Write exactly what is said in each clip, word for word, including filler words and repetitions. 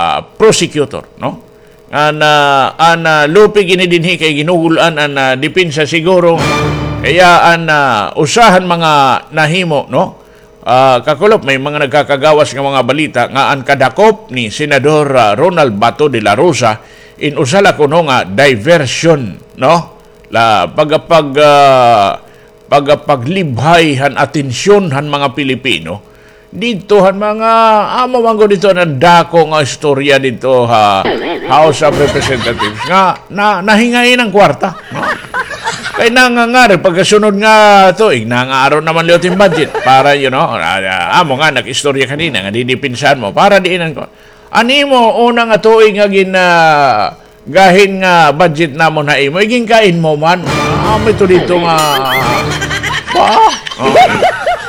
ah, prosecutor, no? An, ah, an, ah, lupig ini dinhi kay ginugul-an an, ah, depensa siguro. Kaya an, ah, usa han mga nahimo, no? Ah, kakulop, may mga nagkakagawas nga mga balita nga an kadakop ni Senador, ah, Ronald Bato de la Rosa in usa la kuno nga diversion, no? La, pagapag-, ah, pagapaglibhay han atensyon han mga Pilipino didto han mga, amo man gud didto an dako nga istorya didto ha House of Representatives nga na, nahingain an kwarta, no? Kay nangangari pagkasunod nga tuig, nangaaron naman liwat hin budget para, you know, ah, ah, amo nga nag-istorya kanina nga didipinsahan mo para diin an ko. An imo una nga tuig nga gin, ah, gahin nga budget namon ha imo, iginkain mo man. Ah, amo ito didto nga, ba? Oh.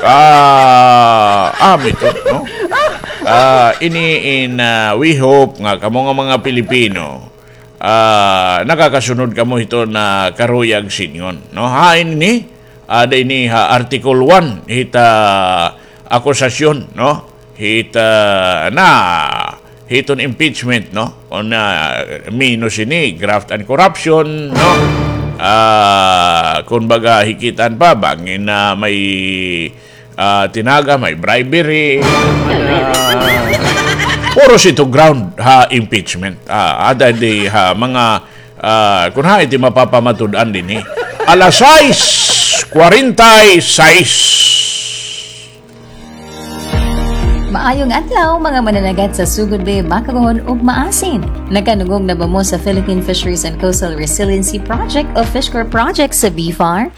Ah, amo ito, no? Ah, ini in, ah, we hope nga kamo nga mga Pilipino, ah, nakakasunod kamo hito na karuyag sidngon, no? Hain ini, ada ini ha Article one hit, ah, akusasyon, no? Hit, ah, na hiton impeachment, no? Kon, ah, minus ini, graft and corruption, no? Ah, kumbaga, hikitan pa, bangin na may, ah, tinaga, may bribery, ah, puro sito ground ha impeachment. Ah, ada di ha mga, ah, kun hain ti mapapamatud-an dinhi. Alas sais kwarenta y sais. Maayong adlaw, mga mananagat sa Sugod Bay, Bacogon, ug Maasin. Nakanungog na ba mo sa Philippine Fisheries and Coastal Resiliency Project o FishCorp Project sa BFAR?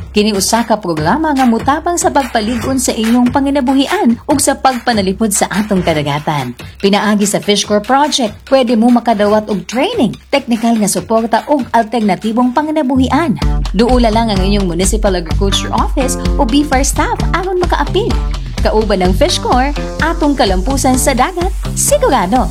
Kini usa ka programa nga motabang sa pagpalig-on sa inyong panginabuhian ug sa pagpanalipod sa atong kadagatan. Pinaagi sa FishCorp Project, pwede mo makadawat og training, teknikal nga suporta ug alternatibong panginabuhian. Duola lang ang inyong Municipal Agriculture Office o BFAR staff aron makaapil. Kauban ang FishCorp, atong kalampusan sa dagat, sigurado.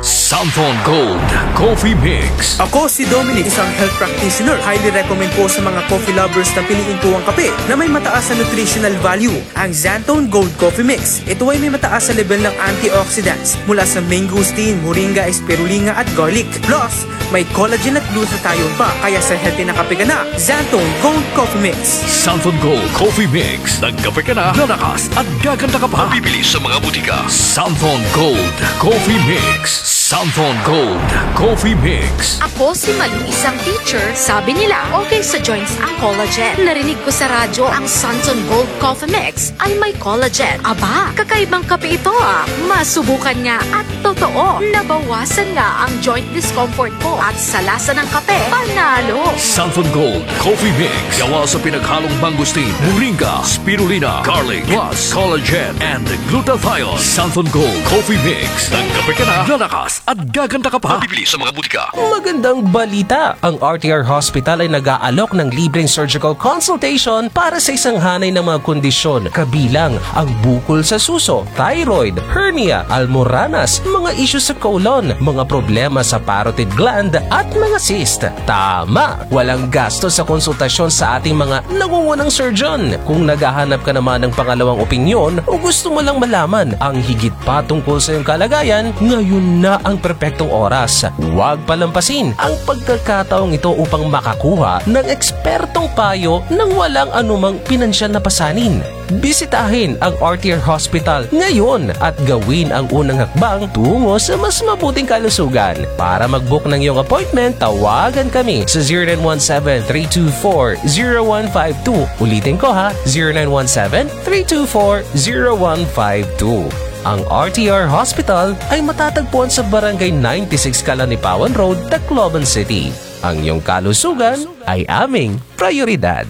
Santhon Gold Coffee Mix. Ako si Dominic, isang health practitioner. Highly recommend ko sa mga coffee lovers na piliin ko ang kape na may mataas na nutritional value. Ang Xanthone Gold Coffee Mix. Ito ay may mataas na level ng antioxidants mula sa mangosteen, moringa, spirulina at garlic. Plus, may collagen at glutathione pa, kaya sa healthy na kape ka na, Xanthone Gold Coffee Mix. Xanthone Gold Coffee Mix. Nagkape ka na, lalakas at gaganda ka pa. Mabibili sa mga butika. Xanthone Gold Coffee Mix. Xanthone Gold Coffee Mix. Ako si Malu, isang teacher. Sabi nila, okay sa joints ang collagen. Narinig ko sa radyo ang Xanthone Gold Coffee Mix ay may collagen. Aba, kakaibang kape ito, ah. Masubukan nga at totoo, nabawasan nga ang joint discomfort ko at sa lasa ng kape, panalo. Santhon Gold Coffee Mix. Gawa sa pinaghalong mangosteen, moringa, spirulina, garlic, plus collagen and glutathione. Santhon Gold Coffee Mix. Nagkape ka na, lalakas at gaganda ka pa. Mabibili sa mga butika. Magandang balita! Ang R T R Hospital ay nag-aalok ng libreng surgical consultation para sa isang hanay ng mga kondisyon, kabilang ang bukol sa suso, thyroid, hernia, almoranas, mga isyu sa colon, mga problema sa parotid gland, at mga cyst. Tama! Walang gasto sa konsultasyon sa ating mga nangungunang surgeon. Kung naghahanap ka naman ng pangalawang opinyon o gusto mo lang malaman ang higit pa tungkol sa iyong kalagayan, ngayon na ang perpektong oras. Huwag palampasin ang pagkakataong ito upang makakuha ng ekspertong payo nang walang anumang pinansyal na pasanin. Bisitahin ang R T R Hospital ngayon at gawin ang unang hakbang tungo sa mas mabuting kalusugan. Para mag-book ng iyong appointment, tawagan kami sa zero nine one seven, three two four, zero one five two. Ulitin ko ha, zero nine one seven, three two four, zero one five two. Ang R T R Hospital ay matatagpuan sa Barangay ninety-six Calanipawan Road, Tacloban City. Ang iyong kalusugan ay aming prioridad.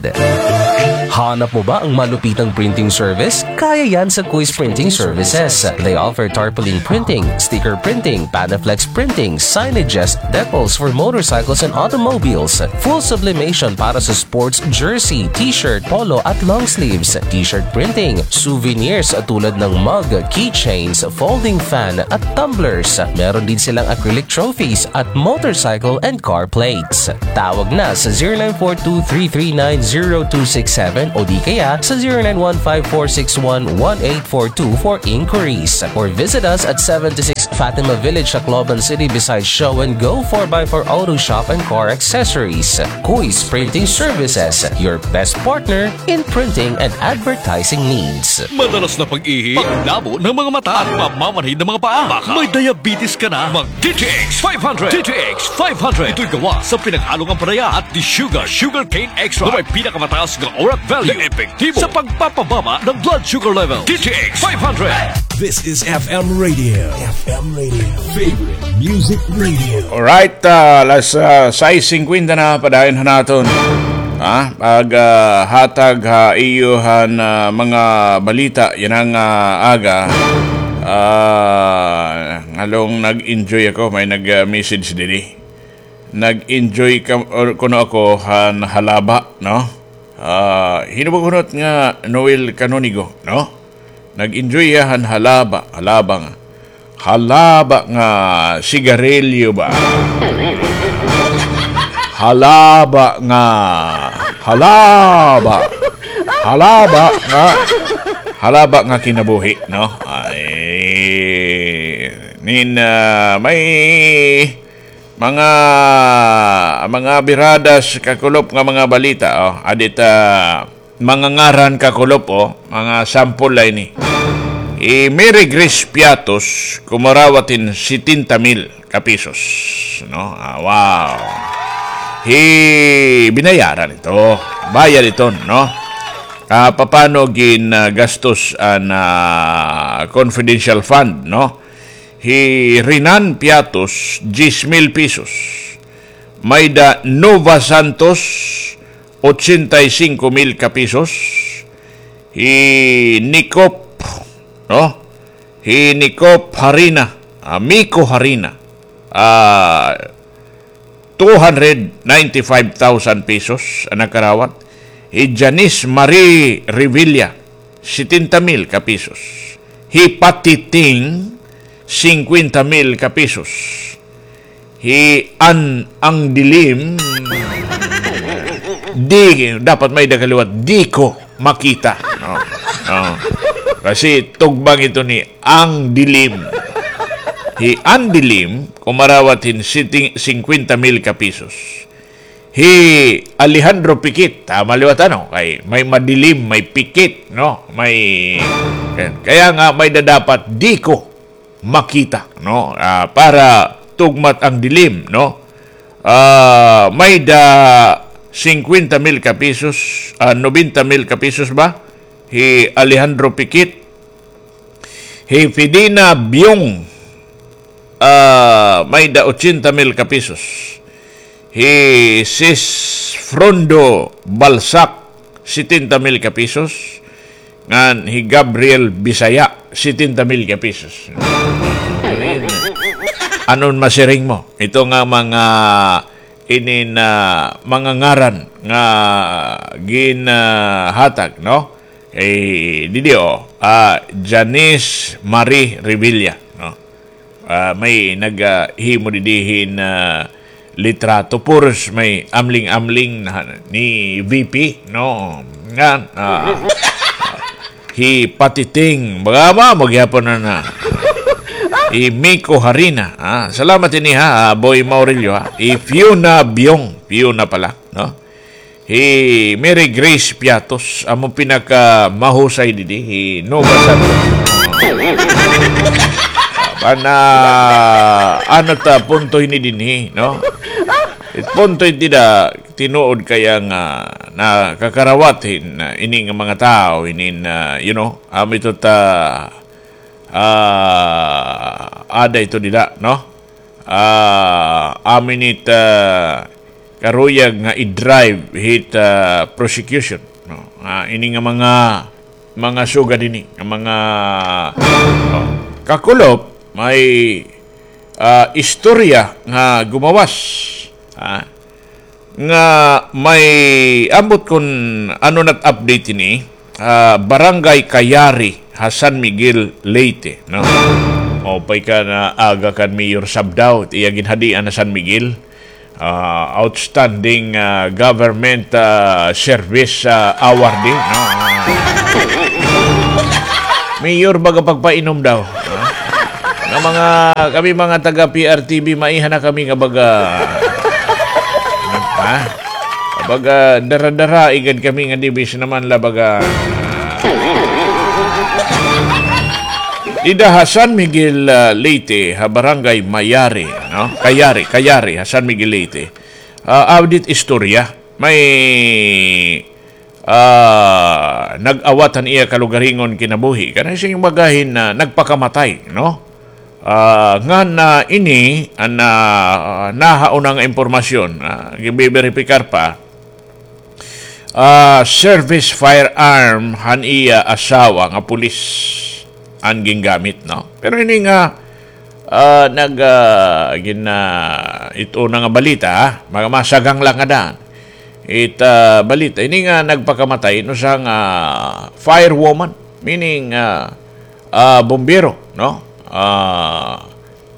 Hanap mo ba ang malupitang printing service? Kaya yan sa Quiz Printing Services. They offer tarpaulin printing, sticker printing, Panaflex printing, signages, decals for motorcycles and automobiles, full sublimation para sa sports jersey, t-shirt, polo at long sleeves, t-shirt printing, souvenirs tulad ng mug, keychains, folding fan at tumblers. Meron din silang acrylic trophies at motorcycle and car plates. Tawag na sa zero nine four two three three nine zero two six seven o di kaya sa zero nine one five four six one one eight four two for inquiries. Or visit us at seventy-six Fatima Village, Tacloban City, beside Show and Go four by four Auto Shop and Car Accessories. Kuis Printing Services, your best partner in printing and advertising needs. Madalas na pag-ihi, paglabo ng mga mata, at mamamanhid ng mga paa. Baka may diabetes ka na. Mag D T X five hundred. D T X five hundred. Ito'y gawa sa pinaghalong ampalaya at di sugar, sugarcane extract, na may pinakamataas na oral value na epektibo sa pagpapababa ng blood sugar level. D T X five hundred. This is F M Radio. F M Radio. Favorite Music Radio. Alright, ah, alas, ah, sais singkwenta na, padayon ha naton. Ah, pag, ah, hatag ha iyo han, ah, mga balita yana nga, ah, aga. Ah, ngalong nag-enjoy ako, may nag, ah, message diri. Nag-enjoy ka, or kuno ako han halaba, no? Ah, hinubughunot nga Noel Canonigo, no? Nag-enjoy hiya han halaba, halaba nga. Halaba nga sigarilyo ba? Halaba nga, halaba. Halaba nga, halaba nga kinabuhi, no? Ay, nin, ah, may mga, mga biradas kakulop nga mga balita, oh. Adit, ah, mga ngaran kakulop, oh, mga sample la ini. Hi Mary Grace Piatos, kumarawat hin setenta mil ka pesos, no? Ah, wow. Hi, binayaran ito. Bayad ito, no? Ah, papano gin, ah, gastos an, ah, confidential fund, no? Hi Renan Piatos, diyes mil pesos. Mayda Nova Santos, ochenta y cinco mil ka pesos. Hi Nikop, no? Hi Nikop Harina, ah, Miko Harina. Ah, two hundred ninety-five thousand pesos an nakarawat. Hi Janice Marie Revilla, setenta mil ka pesos. Hi Patiting, singkwenta mil ka pesos. Hi An Ang Dilim, di, dapat may-ada ka liwat, di ko makita. No? No. Kasi tugbang ito ni Ang Dilim. Hi Ang Dilim, kumarawat hin siting-, singkwenta mil ka pesos. Hi Alejandro Pikit, tama liwat ano, kay may madilim, may pikit, no? May, kaya nga may-ada dapat di ko makita, no? Ah, para tugmat ang dilim, no? Ah, may-ada singkwenta mil ka pesos, ah, nobenta mil ka pesos ba? Hi Alejandro Pikit. Hi Fidina Biong, ah, may-ada ochenta mil ka pesos. Hi Sis Frondo Balsac, setenta mil ka pesos. Ngan hi Gabriel Bisaya, setenta mil ka pesos. Anon masiring mo? Ito nga mga inin, ah, mga ngaran nga ginhatag, no? Eh, didi, oh, ah, Janice Marie Revilla, no? Ah, may nag, ah, himo didi hin, ah, litrato. Puros may amling-amling na ni V P, no? Ngan, ah, hi Patiting, baga ba, magyapon na na. Hi Miko Harina, ah, salamat ini ha, ah, Boy Maurilio ha. Hi Fiona Biong, Fiona pala, no? Hi Mary Grace Piatos, amo pinakamahusay didi, hi Nova Santos. Pana, ano ta, punto hini dinhi, no? It punto iti da, tinuod kaya nga nakakarawat hin, ah, ini nga mga tao, hinin, ah, you know, amo ito ta, ah, ada ito dida, no? Ah, amo ini it, ah, karuyag nga i-drive hit, ah, prosecution, no? Ah, ini nga mga, mga sugad ini, nga mga, oh, kakulop, may, ah, istorya nga gumawas, ah, nga may ambot kon ano na it update ini, ah, Barangay Cayari ha San Miguel, Leyte, no? Maupay ka nga aga kan Mayor Sabdao, iya ginhadian ha San Miguel. Ah, outstanding, ah, government, ah, service, ah, award, eh, no? Mayor baga pagpainom daw. Ha? Nga mga, kami mga taga P R T V, maiha na kami nga baga, ha? Baga dara-dara, igad kami nga dibis naman la baga. Dida ha San Miguel, ah, Leyte, ha Barangay Mayari, no? Kayari, Kayari, ha San Miguel, Leyte. Ah, update istorya. May ah, nag-awat han iya kalugaringon kinabuhi. Kana sing baga hin, ah, nagpakamatay, no? Ah, ngan, ah, ini, an, ah, nahauna nga impormasyon, ah, ginbiberipikar pa, ah, service firearm han iya asawa nga pulis an gingamit, no? Pero ini nga, ah, nag, ah, gin, ah, it una nga balita, ha? Mga masagang lang nga daan. It, ah, balita, ini nga nagpakamatay, no, usa nga firewoman, meaning, ah, ah, bumbero, no? Ah,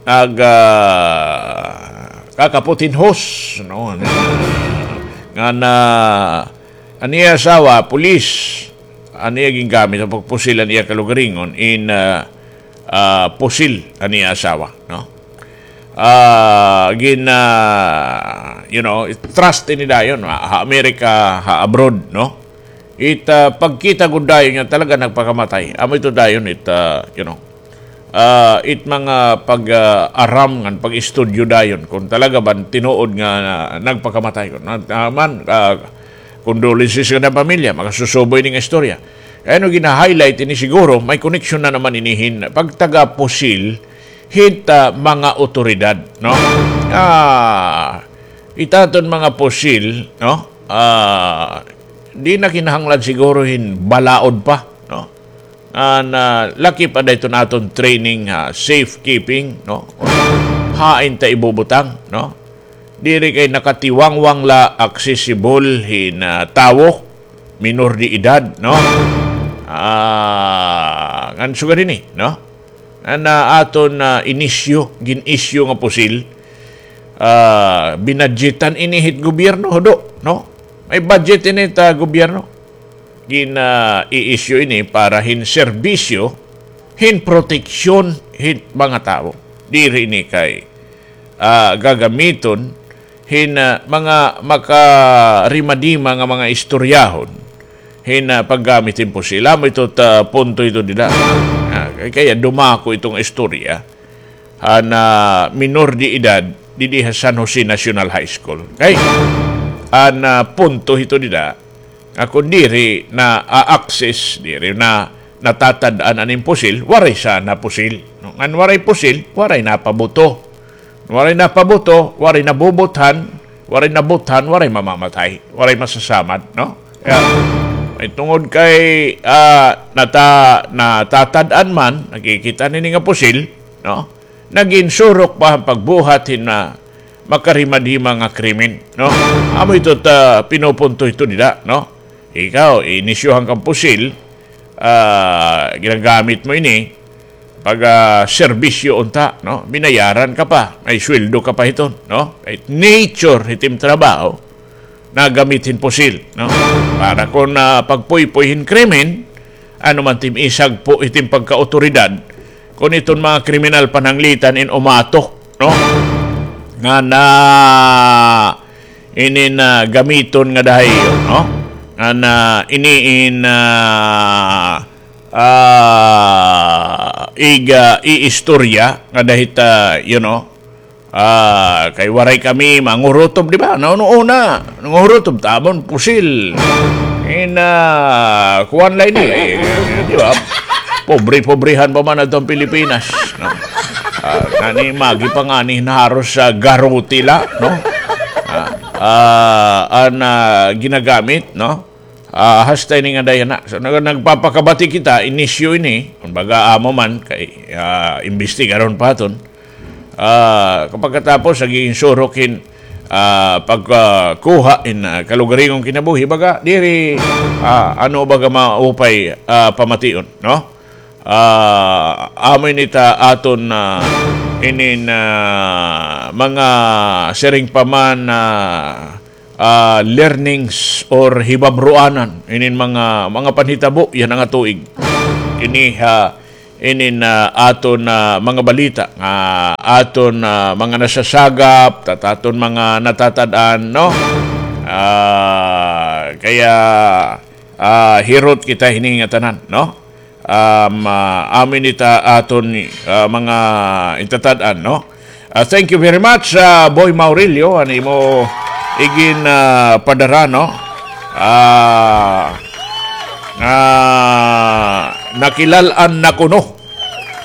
nag, ah, kakapot hin hose, no? Nga na, an iya asawa, pulis, an iya gingamit, an pagpusil an iya kalugaringon, in, ah, ah, pusil an iya asawa, no? Ah, gin, ah, you know, trust ini dayon, ha, ha Amerika, ha abroad, no? It, ah, pagkita gud dayon nga talaga nagpakamatay. Amo ito dayon, it, ah, you know, ah, it mga pag, ah, aram ngan pag-istudyo dayon kung talaga ba tinuod nga, ah, nagpakamatay. Kun, ah, man, ah, condolences ngada pamilya, makasusubo ini nga istorya. Kay ano gina-highlight ini siguro, may koneksyon na naman ini hin pagtaga pusil hit, ah, mga otoridad, no? Ah, it aton mga pusil, no? Ah, di na kinahanglan siguro hin balaod pa, no? Ah, na laki pa da iton aton training, ha, safekeeping, no? Hain ta ibubutang, no? Diri kay nakatiwangwang la accessible hin, ah, tawo, minor de edad, no? Ah, ngan sugad ini, no? An, ah, aton, ah, inisyu, gin-isyu nga pusil, ah, binadyetan ini hit gobyerno, hudo, no? May budget ini ta gobyerno. Gin, ah, i-issue ini para hin serbisyo, hin proteksyon hit mga tawo. Diri ini kay, ah, gagamiton hin, ah, mga makarimadima nga mga istoryahon hin, ah, paggamit hin pusil. Amo ito ta punto ito dida. Ah, kay, kaya dumako iton istorya han, ah, minor de edad didi ha San Jose National High School. Kay, an, ah, punto hito dida, nga kun diri na-access, diri na natatad-an an impusil, waray sana pusil. No? Ngan waray pusil, waray napabuto. Waray napabuto, waray nabubuthan, waray nabuthan, waray mamamatay, waray masasamad, no? Kaya, may tungod kay, ah, nata-, natatad-an man, nakikita nini nga pusil, no? Nagin surok pa an pagbuhat hin, ah, makarimadima nga krimen, no? Amo ito ta pinupunto ito dida, no? Ikaw, inisyohan kang pusil, ah, ginagamit mo ini, pag, ah, serbisyo unta, no? Binayaran ka pa, may sweldo ka pa hiton, no? Kay nature hit im trabaho, nagamit hin pusil, no? Para kon, ah, pagpuypoy hin krimen, ano man tim isagpo hit im pagkaawtoridad, kon iton mga kriminal pananglitan in umato, no? Nga na inin, ah, gamiton ngada ha iyo, no? Nga na ini in, ah, ah, iga iistorya ngada hit, ah, you know, ah, kay waray kami mangurutob, di ba? Nauna-una, nangurutob ta amon pusil. In, ah, kuan la ini, eh, di ba? Pobre-pobrehan pa man adto an Pilipinas, no? Ah, ngani, magi pa ngani naharos sa garuti la, no? Ah, ah, an, ah, ginagamit, no? Ah, hasta ini nga dayon na. So, nag-, nagpapakabati kita, inisyu ini, kumbaga, amo man, kay, ah, imbestigaron pa aton. Ah, kapagkatapos, nag-iinsurok hin, ah, pagkuha hin, ah, kalugaringon kinabuhi, baga, diri, ah, ano baga maupay, ah, pamation, no? Ah, amo ini ta aton, ah, inin, ah, mga siring pa man, ah, ah, learnings or hibabroanan inin mga, mga panhitabo yana nga tuig. ini ha inin, ah, aton, ah, mga balita nga aton, ah, mga nasasagap, tat-, aton mga natatad-an, no? Ah, kaya, ah, hirot kita hini nga tanan, no? Um, ah, amin ita aton, ah, mga itatad-an, no? Ah, thank you very much, ah, Boy Maurilio, an imo igin, ah, padara, no? Ah, ah, nakilal-an na kuno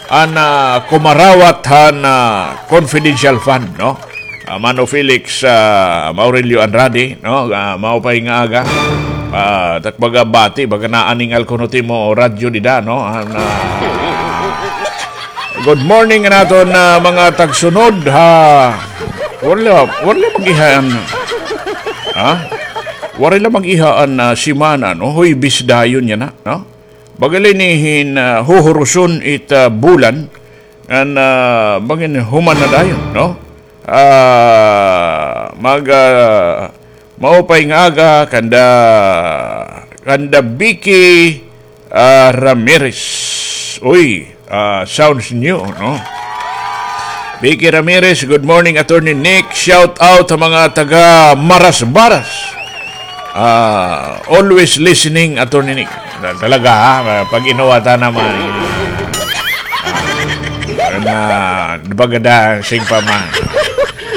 an, ah, kumarawat han, ah, confidential fund, no? Ah, Mano Felix, ah, Maurilio Andrade, no? Ah, maupay nga aga. Ah, tak baga bati, baga naaningal kuno it imo radyo dida, no? An, ah, good morning han aton, ah, mga tagsunod, ha. Waray la, waray la mag-iha an, ha? Waray la mag-iha an, ah, semana, no? Huwebes dayon yana, no? Baga la ini hin, ah, huhuruson it, ah, bulan, ngan, ah, bangin human na dayon, no? Ah, mag, ah, maupay nga aga kanda, kanda Vicky, ah, Ramirez. Uy, ah, sounds new, no? Vicky Ramirez, good morning, Attorney Nick. Shout out sa mga taga Marasbaras. Ah, always listening, Attorney Nick. Tal-, talaga, ha? Pag inuwata naman. Ah, na, di ba ganda, sing pa man.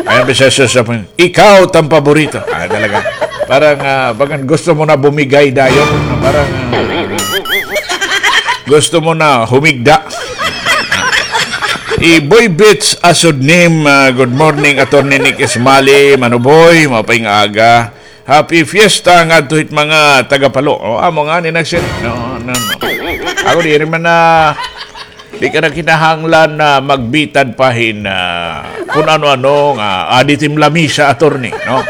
Ayan, bisa sa, sa, ikaw, it am paborito. Ah, talaga. Parang, ah, bagan gusto mo na bumigay dayon. Parang, ah, gusto mo na humigda. Iboy Beats Asod Name, ah, good morning, Attorney Nick Ismali, Mano Boy, maupay nga aga. Happy Fiesta ngadto hit mga taga Palo. O, amo ngani nagsiring. No, no, no. Ako diri man na, di ka na kinahanglan na magbitad pa hin, ah, kun ano-ano nga, adi it im lamisa, attorney, no?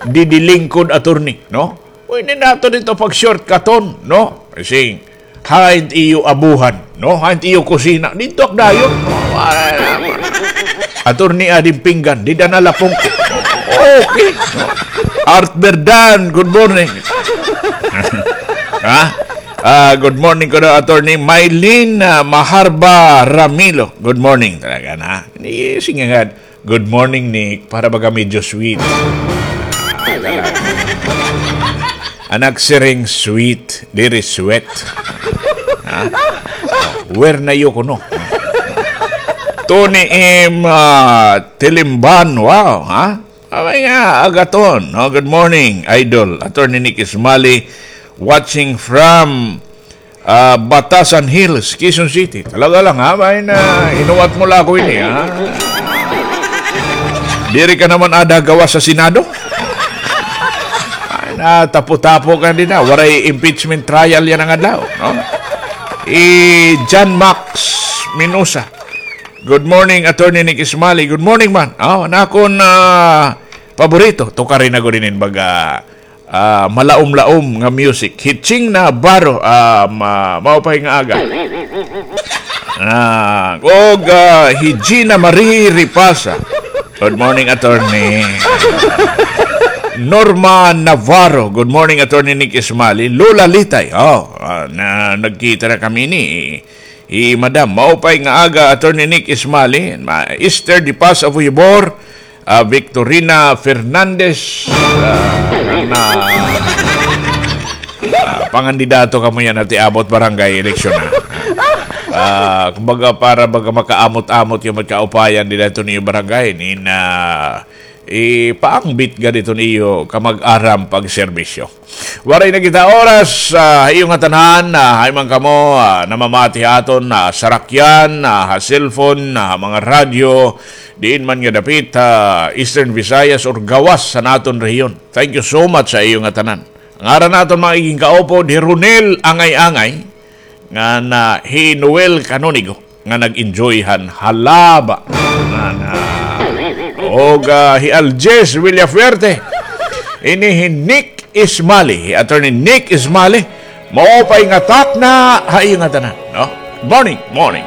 Didi lingkod, attorney, no? Uy, ini naton ito pag-shortcuton, no? Kasi, hain it iyo abuhan, no? Hain it iyo kusina. Didto ak dayon. Attorney, adi it pinggan, dida na lapong ko. Okay. Art Berdan, good morning. Ha? Ah, good morning kuno, Attorney Mylene, ah, Maharba Ramilo. Good morning talaga na. Ni, sige nga, good morning, Nick. Para baga medyo sweet. Ah, talaga. An nagsiring sweet, diri sweat. Ha? Where na you kuno? Tony M, ah, Tilimban, wow, ha? Abay nga, agaton, no? Good morning, Idol. Attorney Nick Ismali, watching from, ah, Batasan Hills, Quezon City. Talaga lang, ha? Abay na, inuwat mo la ako ini, ha? Diri ka naman ada gawas sa Senado? Ay, na, tapo-tapo ka din, ha? Waray impeachment trial yana nga adlaw, no? I John Max Minosa. Good morning, Attorney Nick Ismali. Good morning, man. Oh, an akon, ah, paborito. Tukarin na gud inin baga, ah, malaom-laom nga music. Hitching Navarro, ah, ma-, maupay nga aga. Ah, og, ah, hi Gina Marie Ripasa. Good morning, Attorney. Norma Navarro. Good morning, Attorney Nick Ismali. Lola Litay. Oh, ah, na, nagkita na kami ni Hi Madam, maupay nga aga, Attorney Nick Ismali, ma-, Esther De Paz of Huibor, ah, Victorina Fernandez, ah, na, ah, pangandidato kamo yana hit iabot barangay eleksyon, ha. Ah, kumbaga, para baga makaamot-amot kamo hit kaupayan dida hiton iyo barangay, nin, ah, ipaangbit gad hiton iyo kamag-aram pagserbisyo. Waray na kita oras, ah, ha iyo ngatanan, ah, hain man kamo, ah, namamati ha aton, ah, sarakyan, ah, ha cellphone, ah, ha mga radyo, diin man nga dapit, ah, Eastern Visayas or gawas han aton rehiyon. Thank you so much ha iyo ngatanan. Ngaran han aton mga igin kaupod, hi Ronel Angay-angay, ngan hi Noel Canonigo nga nag-enjoy han halaba. Ngan, ah, og, ah, hi Aljes Villafuerte. Ini hi Nick Ismali, hi Attorney Nick Ismali. Maupay nga takna ha iyo ngatanan, no? Morning, morning.